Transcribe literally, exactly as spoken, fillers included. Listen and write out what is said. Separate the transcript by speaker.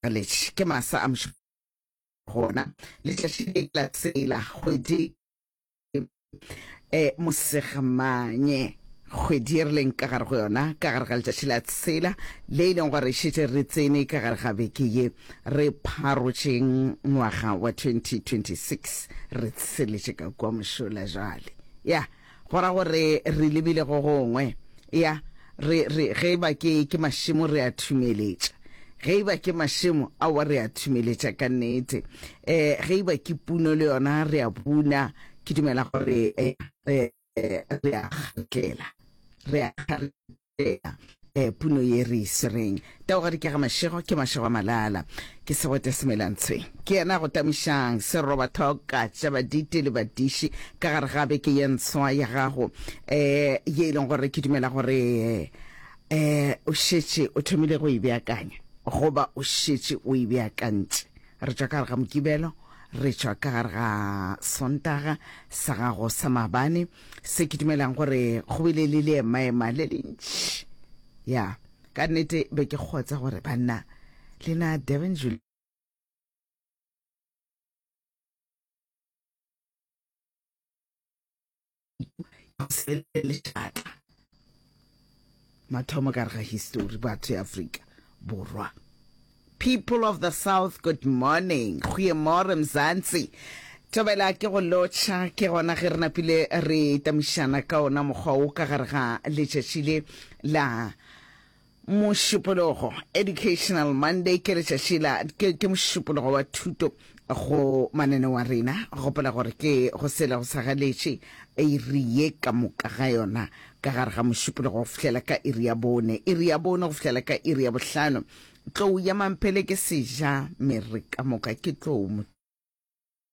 Speaker 1: Letše ke masa a mošo gona letšatši le la tshela kgwedi e Mosegamanye, kgwedi ye re leng ka gare go yona, ka gare ga letšatši la tshela le e leng gore šetše re tsene ka gare ga beke ye re pharotšeng ngwaga wa twenty twenty six, re tsheletše ka kua mošola jwale. Ya, go ra gore re lebile go gongwe. Ya, re, re, ge eba ke, ke mašemo re a thumeletša. Ge eba ke mašemo, aowa re a thumeletša ka nnete. Eh, ge eba ke puno le yona re a buna. Ke dumela gore eh, eh, re a kgatlela. Re a kgatlela eh, puno ye re e swereng. Taogadi ke ga Mašego, ke Mašego a Malala. Ke Segwete Semelantshweng. Ke yena a go tamišang serobathoka tša baditi le badiši ka gare ga beke ye ntshwa ya gago, eh, ye e leng gore ke dumela gore eh, o šetše o thomile go e beakanya goba o šetše o e beakantše. Re tšwa ka gare ga Mokibelo, re tšwa ka gare ga Sontaga sa gago sa maabane, se ke dumelang gore go bile le leemaema le lentši. Ya, ka nnete be ke kgotsa gore banna lena Durban July lešata mathomo ka gare ga histori batho ya Afrika Borwa. People of the South, good morning. Goeiemorgen Mzansi. Thobela ke go lotšha, ke gona ge re napile re tamišana ka ona mokgwa wo ka gare ga letšatši le la Mošupologo, Educational Monday, ke letšatši la ke, ke mošupologo wa thuto go mananeo a rena. Gopola gore ke go sela go sa galetše iri ye ka moka ga yona ka gare ga mošupologo go fihlela ka iri ya bone, iri ya bone go fihlela ka iri ya bohlano. Tlou ya Mamphele ke seja mere ka moka ke tlou.